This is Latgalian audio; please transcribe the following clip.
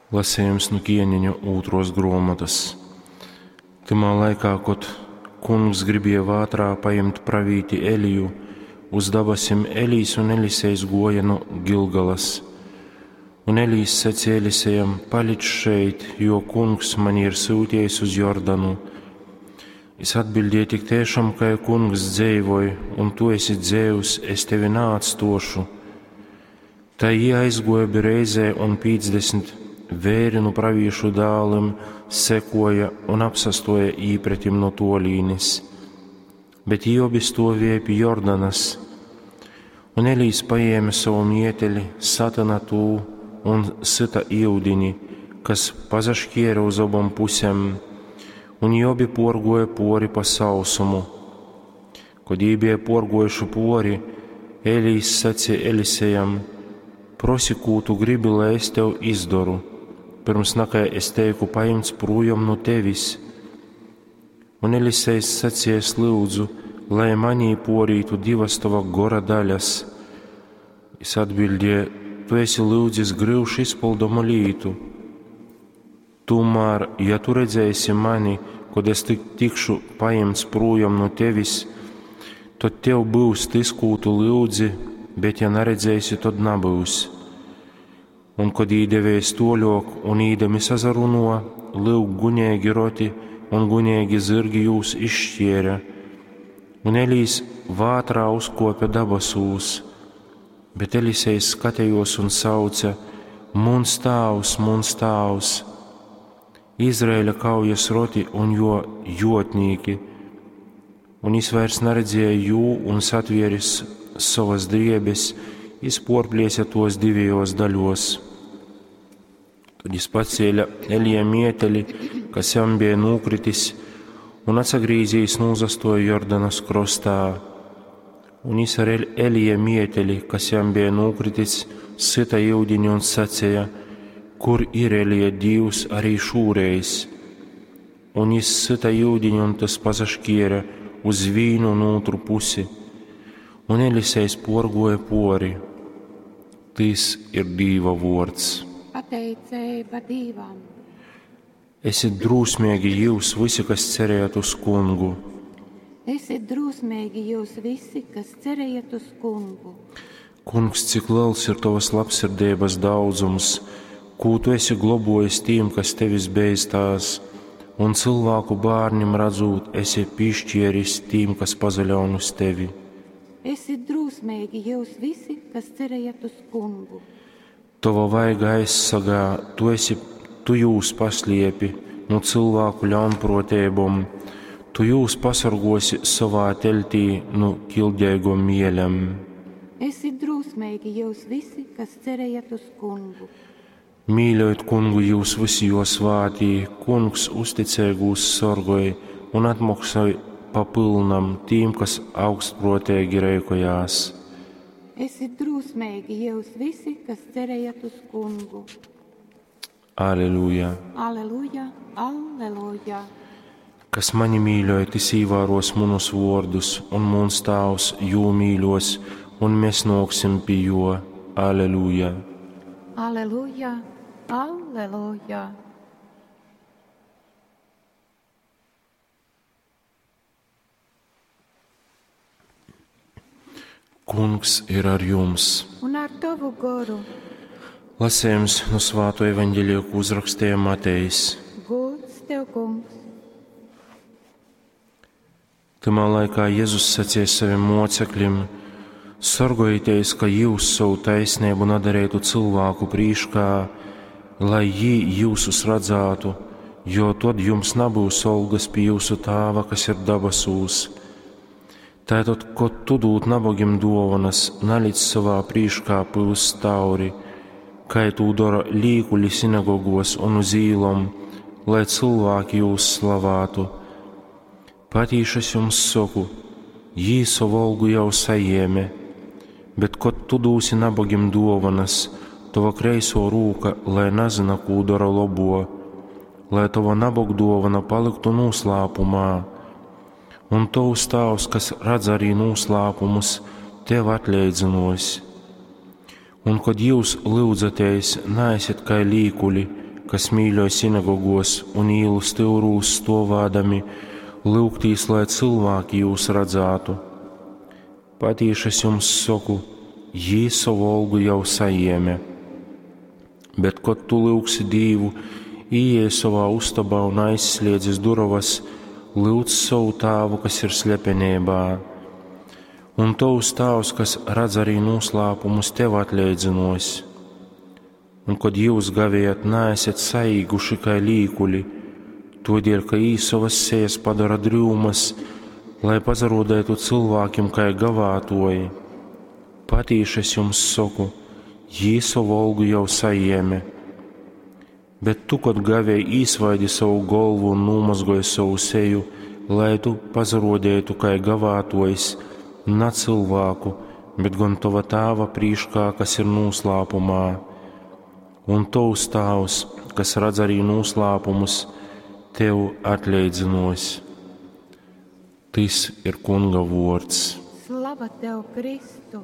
Lasejums nu Kieneņu ūtruos gruomotys. Tymā laikā, kod kungs gribēja vātrā pajimt pravīti Eliju uz dabasim, Elijs un Elisejs guoja nu Gilgalas. Un Elijs saceja Elisejam: Palic šeit, jo kungs mani ir syutiejs uz Jordanu. Jis atbildēja: Tik tiešām, kai kungs dzeivoj, un tu esi dzeivs, es tevi naatstuošu. Tai jī aizguoja obi reizē, un 50 veiri nu pravīšu dālim sekoja un apsastuoja īpretim no tuolīnes. Bet jī obi stuovēja pi Jordanas. Un Elijs paēma savu mieteli, satyna tū un syta iudini, kas pasaškiera uz obom pusēm, un jī obi puorguoja puori pa sausumu. Kod jī bija puorguojuši puori, Elijs saceja Elisejam: Prosi, kū tu gribi, lai es tev izdoru, pyrms nakai es teiku pajimts prūjom nu tevis. Un Elisejs saceja: Es lyudzu, lai manī puorītu divas tova gora daļas. Jis atbildēja: Tu esi lyudzis gryuši izpildomu lītu. Tomēr, ja tu redzēsi mani, kod es tik tikšu pajimts prūjom nu tevis, tad tev būs tas, kū tu lyudzi, bet ja naredzēsi, tad nabyus. Un kod īdevēs toļok un īdami sazaruno, lyuk guņīgi roti un guņīgi zirgi jūs izšķiera. Un Elijs vātrā uzkopja dabasūs, bet Elisejs skatījos un sauca: Muns tāvs, muns tāvs! Izraēļa kaujas roti un jo jotnīki. Un jis vairs naredzēja jū un satvieris sovas driebes, jis porpliesa tos divējos daļos. Tad jis pacēla Elija mieteli, kas jam bija nūkritis, un atsagrīzīs nūzastoja Jordanas krostā. Un jis ar Elija mieteli, kas jam bija nūkritis, syta iudini un saceja: Kur ir Elija Dīvs arī šūreiz? Un jis syta iudini, un tas pasaškiera uz vīnu un otru pusi. Un Elisejs porgoja pori. Tys ir Dīva vuords. Pateiceiba Dīvam. Esiet drūsmīgi jūs visi, kas cerējat uz kungu. Esiet drūsmīgi jūs visi, kas cerējat uz kungu. Kungs, cik liels ir tavas labsirdības daudzums, kū tu esi globojis tiem, kas tevis beistās, un cilvēku bērniem redzot, esi piešķieris tiem, kas pazaļaun uz tevi. Esiet drūsmīgi jūs visi, kas cerējat uz kungu. Tava vaiga aizsargā, tu esi, tu jūs pasliepi no cilvēku ļaunprotībom, tu jūs pasargosi savā teltī no kildēgom mielem. Esiet drūsmīgi jūs visi, kas cerējat uz kungu. Mīļojot kungu jūs visi jo svātī, kungs uzticīgūs sorgoj un atmaksoj pa pilnam tīm, kas augstprotīgi rēkojās. Esiet drūsmīgi jūs visi, kas cerējat uz kungu. Aleluja! Aleluja, aleluja! Kas mani mīļoja, tas īvēros munus vārdus, un muns tāvs jū mīļos, un mēs nāksim pie jo. Aleluja! Aleluja, aleluja! Kungs ir ar jums! Un ar tavu goru. Lasījums no Svāto evaņģēlija, ko uzrakstīja Matejs. Gods tev, kungs! Tamā laikā Jēzus sacīja saviem mocekļiem: Sorgojieties, ka jūs savu taisnību nedarītu cilvēku prīškā, lai jī jūsus redzētu, jo tad jums nebūs algas pie jūsu tāva, kas ir dabasūs. Tātad, kod tu dūd nabagim dovanas, nalic savā prīškā pyust tauri, kai tū dara līkuļi sinagogos un uz īlom, lai cilvēki jūs slavātu. Patīši es jums saku, jī savu algu jau sajēme, bet kod tu dūsi nabagim dovanas, tava kreiso rūka, lai nezina, kū dara labo, lai tava nabaga dovana paliktu noslēpumā. Un tavs tāvs, kas redz arī noslēpumus, tev atleidzinos. Un, kad jūs lūdzaties, neesiet kā līkuļi, kas mīļoj sinagogos un īlu styurūs stuovādami, lyugtīs, lai cylvāki jūs radzātu. Patīši es jums soku, jī sovu olgu jau sajēme. Bet, kod tu lyugsi Dīvu, īej sovā ustobā un aizsliedzis durovas, lyudz sovu tāvu, kas ir slepenībā. Un tovs tāvs, kas redz arī noslēpumus, tev atleidzinos. Un kod jūs gavējat, neesat saīguši kā līkuļi, todēļ, ka jī sovas sejas padara dryumas, lai pazarodētu cilvēkiem kā gavātoji. Patīši es jums saku, jī savu olgu jau sajēme. Bet tu, kod gavēji, īsvaidi savu golvu un nomazgoji savu seju, lai tu pazarodētu kā gavātojs, ne cilvēku, bet gan tava tāva prīškā, kas ir noslēpumā. Un tovs tāvs, kas redz arī noslēpumus, tev atleidzinos. Tis ir Kunga vords. Slava tev, Kristu!